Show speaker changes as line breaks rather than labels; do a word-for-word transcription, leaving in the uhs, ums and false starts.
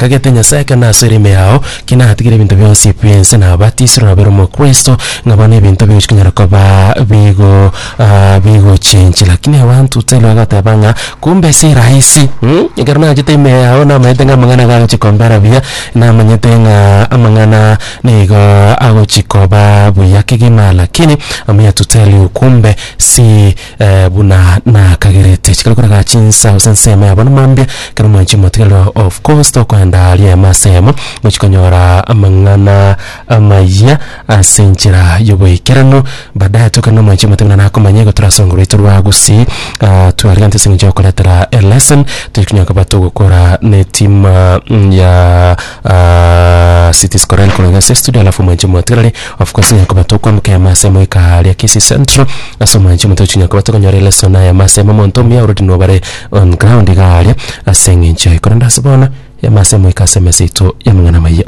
Nakagete Nyasae ekero nasoire ime yao, ki natigire ebinto bionsi bi'ense nabatisirwe nabere omokristo, ng'a bono ebinto bigochi konyara koba bigo ah, bigochenchi. Lakini abantu tell bagoteba ng'a kumbe si rahisi mm? Ekero nachete ime yao namanyete ng'a amang'ana gagochi kombera buya, namanyete ng'a amang'ana nigo agochi koba buya kegima, lakini I'm here to tell you kumbe si eh, buna nakagerete. Chikare koraga chinsa gose ensemo ya bono mambia, ekero mwanchi motigarero of course tokoenda aria emasemo gochi konyora amang'ana amaya ase enchera y'oboikeranu. Baadaye tokare na omwanchi omote buna nakomanya igo torasongo rwaito rwa Gusii, uh, twarigante ase eng'encho ya gokoretera elesson tochi konya koba togokora ne team uh, ya uh, Cities Corel korwa ase studio. Alafu omwanchi omotigareri of course nya koba tokwambuka emasemo ika aria Kisii Central ase omwanchi omote ochi nya koba tokonyora elesson aya masemo omonto omuya already nobare on ground iga aria ase eng'encho yaye. Korende ase bono emasemo ika ase emesa yaito y'amang'ana amaya.